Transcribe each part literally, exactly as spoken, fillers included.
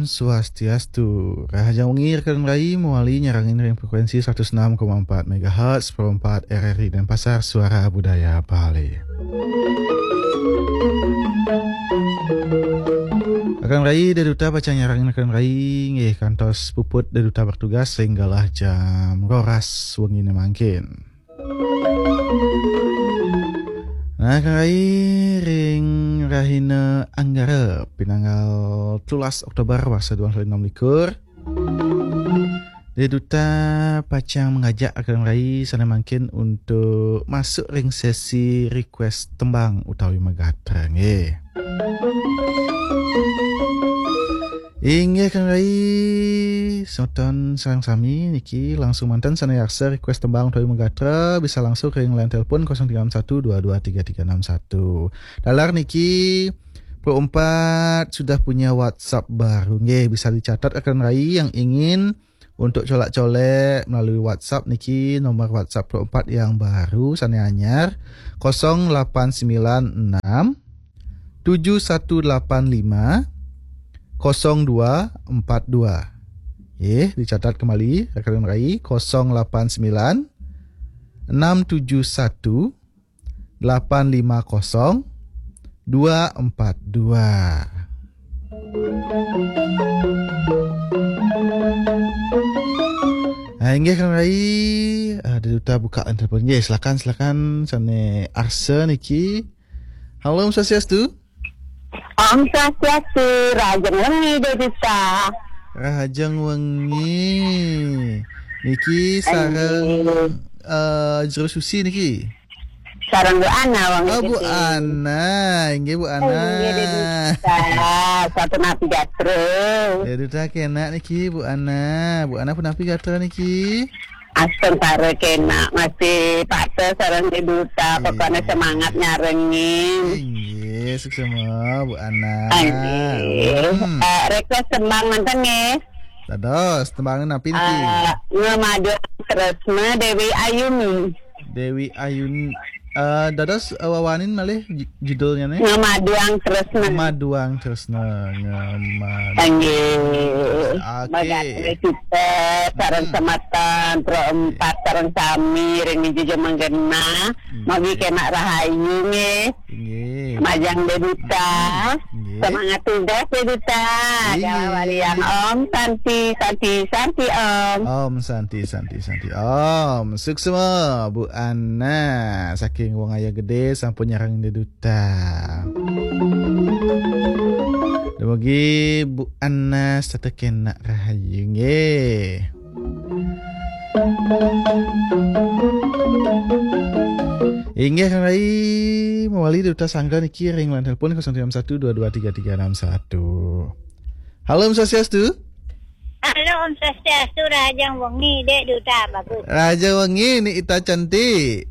Swastiastu. Rahajeng wengi rekan rai, mawali nyarengin ring frekuensi seratus enam koma empat megahertz, Pro empat R R I Denpasar, Suara Budaya Bali. Rekan rai, Ida Duta pacang nyarengin rekan rai, nggih, kantos puput Ida Duta bertugas ring galah jam roras wengine mangkin. Nah, rekan rai, ring rahina Anggara, pinanggal telulas Oktober, warsa dua ewu enam likur, Ida Duta pacang ngajak rekan rai sane mangkin untuk masuk ring sesi request tembang utawi magatra, nggih. Inggih, rekan rai, semeton sareng sami niki langsung manten sane arsa request tembang utawi magatra, bisa langsung ring line telepon kosong tiga enam satu dua dua tiga tiga enam satu. Taler niki, Pro empat sudah punya WhatsApp baru. Nggih, bisa dicatat rekan rai yang ingin untuk colak-colek melalui WhatsApp niki, nomor WhatsApp Pro empat yang baru, sane anyar, kosong lapan sembilan enam tujuh satu lapan lima kosong dua empat dua. Nggih, dicatat kembali, rekan rai, kosong lapan sembilan enam tujuh satu lapan lima kosong dua empat dua. Nah, inggih, rekan rai, ah, Ida Duta buka telepon. Nggih, silakan, silakan, sane arsa niki. Halo, Om Swastiastu. Om Swastiastu, rahajeng wengi, Ida Duta. Rahajeng wengi. Niki sareng, eh, Jero Susi niki. Sareng Bu Ana, wong. Oh, Bu Ana. Inggih, Bu Ana. Inggih, Ida Duta. Sapunapi gatra? Ida Duta kenak niki, Bu Ana. Bu Ana punapi gatra niki? Astungkara kenak, masih pateh sareng Ida Duta, pokoknya semangat nyarengin. Inggih, suksma, Bu Ana. Inggih. Hmm. Eh, request tembang manten nggih. Dados, tembang napi niki? Eh, Ngemaduang Tresna, Dewi Ayuni. Dewi Ayuni. Eh, dados, eh, wawanin malih ju-, judulnya nih? Ngemaduang Tresna. Ngemaduang Tresna, Ngemaduang. Inggih. Oke. Magatra kita sareng semeton, Pro empat sareng sami ring jejemeng genah. Inggih. Mugi kenak rahayu nggih. Inggih. Majeng Ida Duta. Inggih. Semangat tugas Ida Duta. Inggih. Galah walian. Om Santi, Santi, Santi Om. Om Santi, Santi, Santi Om. Suksma, Bu Ana. Saking Wong Aya Gede sampun nyarengin Ida Duta. Dumugi Bu Ana setata kenak rahayu nggih. Inggih, Kang Rai, mawali Duta Sangga niki ring line telepon kosong tiga enam satu dua dua tiga tiga enam satu. Halo, Om Swastiastu. Halo, Om Swastiastu, rahajeng wengi, Ida Duta, bagus. Rahajeng wengi, Ni Ita cantik.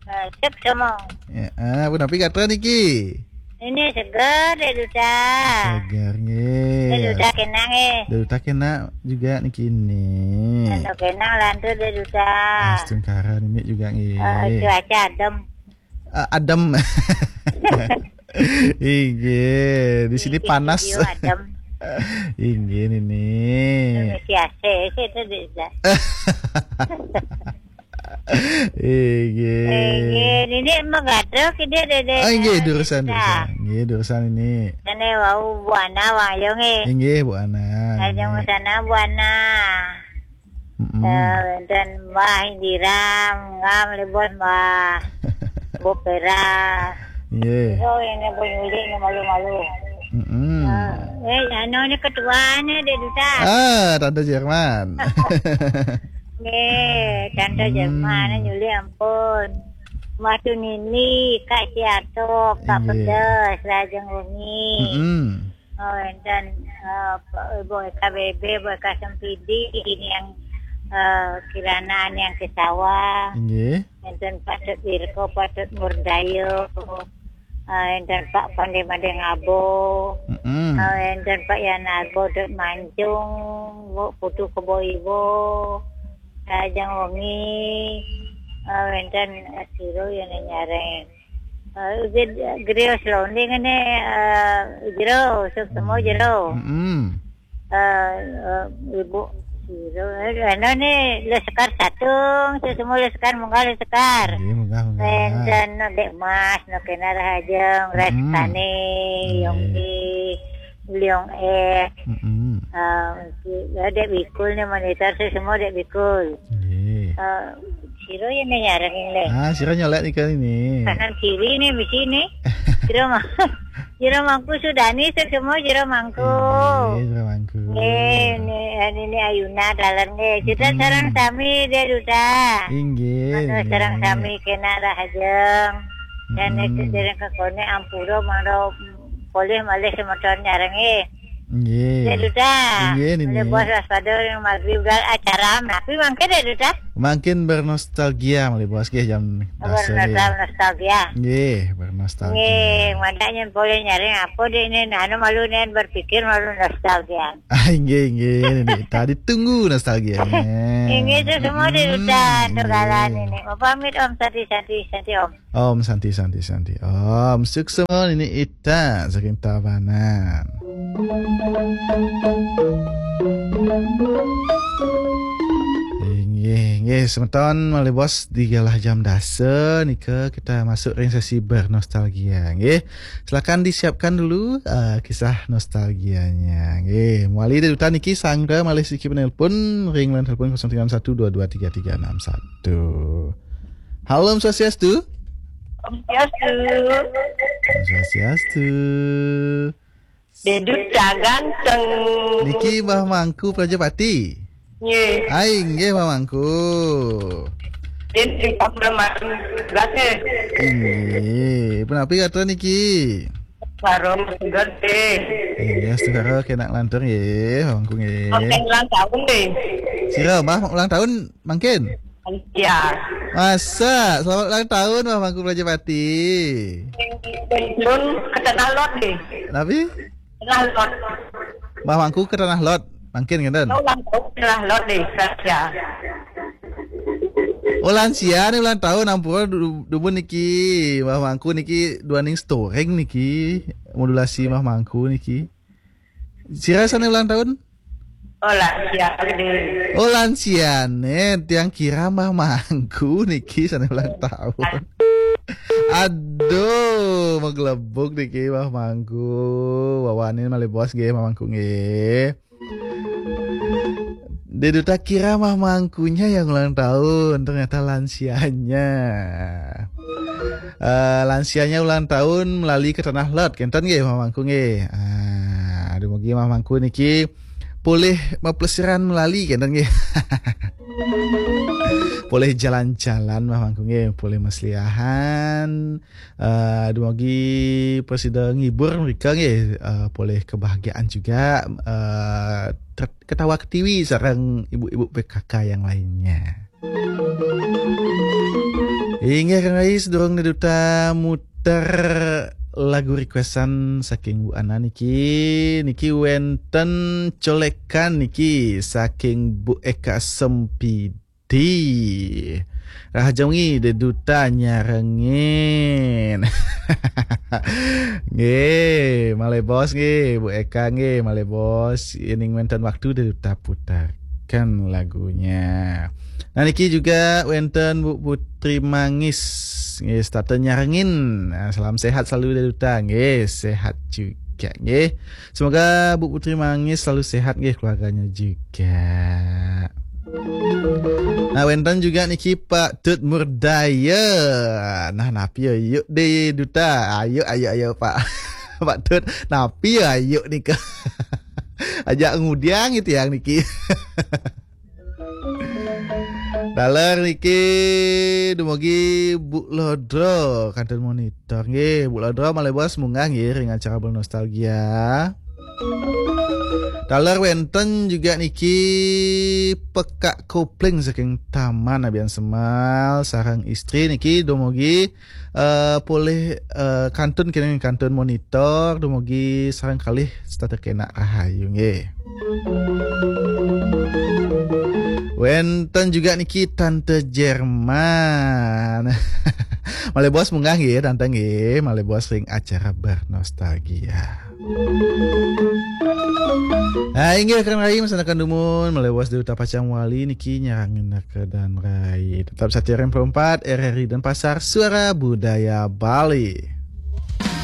Eh, sip, semua. Ya, ah, punapi gatra niki? Ini seger, Ida Duta. Seger, nggih. Ida Duta kenak, nggih. Ida Duta kenak juga niki, Ni. Anu kenak lantur, Ida Duta. Astungkara niki juga, nggih. Eh, cuaca adem. Eh, adem. Inggih, di sini panas. Di studio adem. Inggih, Nini. Ngisi A C sih itu, Ida Duta. Inggih. Inggih, Nini magadra kidih, Dede. Ah, inggih, durusang, Ida Duta. Durusang. Inggih, durusang Nini. Dene wau Bu Ana, wau ayo nggih. Inggih, Bu Ana. Ajeng nggih. Sana, Bu Ana. Mm-mm. Eh, wenten Mbah Indira, Ngam Lebon, Mbah Bopera. Nggih. Yo, ini Bu Yuli, ini malu-malu. Mm-mm. Eh, eh, anu ni ketuane, Ida Duta. Ah, Tante Jerman. Nggih, Tante Hmm. Jerman, Yuli ampun. Mbah Tunini, Kak Siatok, Kak Nggih. Pedes, rahajeng wengi. Mm-mm. Oh, wenten, eh, Pak, Ibu Eka Bebe, Ibu Eka Sempidi, ini yang, eh, Kirana, yang ke sawah. Inggih. Wenten Pak Tut Wirko, Pak Tut Murdayo, eh, wenten Pak Pande Madeng Abo, Mm-mm. eh, wenten Pak Yanarbo, Dut Mancung, Bu Putu Kebo Ibo, Rajang Wengi, eh, wenten, eh, Siro yang nyareng. Eh, Ged-, Grios Londing ini, eh, Jero, Suk Temu Jero. Mm-mm. Eh, eh, Ibu Siro, eh, anu ni, Leskar Satung, sesemo Leskar, munggah Leskar. Nggih, munggah, munggah. Wénten Dék Mas, nu kénak rahajeng, mm-mm. Rastani, nggih. Yongki, Liong Eh, mm-mm. Eh, ya, Dék Bikul ni monitor, sesemo Dék Bikul. Nggih. Eh, sira ya ni nyarengin lé. Ah, sira nyolek nika ni. Kanan kiri ni, bisi ni. Sira mah. Jero Mangku Sudani, sesemo Jero Mangku. Inggih, Jero Mangku. Nggih, ni, eh, Nini Ayuna dalan nggih. Kita mm-mm. Sareng sami dia duta. Inggih, mata sareng inggih. Sami kénak rahajeng. Dan mm-mm. Itu sareng kekoné ampura mangda polih malih semeton nyareng nggih. Nggih. Dia duta. Inggih, Nini. Malih bos waspada yang maghrib gal acara. Tapi mangkin dia duta. Mangkin bernostalgia malih bos nggih jam dasa nggih. Bernostal-, nostalgia. Nggih, bernostalgia. Nggih, madak nyén polih nyareng apa dek ni, anu malu ni berpikir malu nostalgia. Ah, inggih, inggih, ini tadi tunggu nostalgianya. Inggih, itu semua di hutan, hmm, tuh galan nggih. Ini. Mau pamit Om, santi, santi, santi Om. Om, santi, santi, santi. Om, suksma ini Ita saking Tabanan. Inggih, inggih, semeton malih bos digalah jam dasa nika kita masuk ring sesi bernostalgia, nggih. Silakan disiapkan dulu, eh, kisah nostalgianya, nggih. Mawali dari duta niki sangka malih siki penelpon ring line telepon kosong tiga enam satu dua dua tiga tiga enam satu. Halo, Om Swastiastu. Om Swastiastu. Om Swastiastu. Dedut ganteng. Niki Mbah Mangku Prajapati. Nggih. Ai, nggih, Mbah Mangku. Din di Kabupaten Gresik. Inggih. Punapi gatra niki? Karo Mas Gede. Inggih, Mas Gede kénak lantur nggih, Mbah Mangku nggih. Mangkin ulang tahun nggih. Sira, Mbah, ulang tahun mangkin? Iya. Masa, selamat ulang tahun, Mbah Mangku Prajapati. Pun ke Tanah Lot nggih. Napi? Tanah Lot. Mbah Mangku ke Tanah Lot, mangkin ngénten. Ulang tahun Tanah Lot nggih, ya. Oh, lansia ni ulang tahun, ampura du-, dumun niki, Mbah Mangku niki duaning storing niki, modulasi Mbah Mangku niki. Sira sané ulang tahun? Oh, lansia gede. Oh, lansia né, tiang kira Mbah Mangku niki sané ulang tahun. Aduh, maglebug niki Mbah Mangku. Wawanin malih bos nggih, Mbah Mangku nggih. Deduta kira Mbah Mangkunya yang ulang tahun, ternyata lansianya. Eh, lansianya ulang tahun melali ke Tanah Lot, kénten nggih, Mbah Mangku nggih. Ah, dumugi Mbah Mangku niki polih maplesiran melali, kénten nggih. Polih jalan-jalan, Mbah Mangku nggih, polih masliahan. Eh, dumugi prasida ngibur mereka nggih, eh, polih kebahagiaan juga, eh, ter-, ketawa ketiwi sareng ibu-ibu P K K yang lainnya. Inggih, Kang Rais, durung Deduta muter lagu requestan saking Bu Ana niki. Niki wénten colékan niki saking Bu Eka Sempidi. Rahajeng wengi Deduta nyarengin. Nggih, malih bos nggih, Bu Eka nggih, malih bos. Yening wénten waktu Deduta putarkan lagunya. Nah, niki juga wénten Bu Putri Mangis. Nggih, setata nyarengin. Nah, salam sehat selalu Deduta. Nggih, sehat juga nggih. Semoga Bu Putri Mangis selalu sehat nggih, keluarganya juga. Nah, wénten juga niki Pak Tut Murdaya. Nah, napi ya yuk deh Duta. Ayo, ayo, ayo Pak. Pak Tut, napi ya yuk nika. Ajak ngudiang gitu yang niki. Daler niki dumugi Bu Lodro kantun monitor nggih. Bu Lodro malih bos munggah nggih ring acara bernostalgia. Daler wénten juga niki Pekak Kopling saking Taman Abian Semal sareng istri niki dumugi eh, polih, eh, kantun kéné kantun monitor dumugi sareng kalih setata kénak rahayu nggih. Wénten juga niki Tante Jerman. Malih bos munggah nggih, Tante nggih. Malih bos ring acara bernostalgia. Nah, inggih rekan rai, mangkin dumun melewas dari tapacang wali niki nyarengin ke dan rai. Tetap satia R M empat R R I Denpasar, Suara Budaya Bali.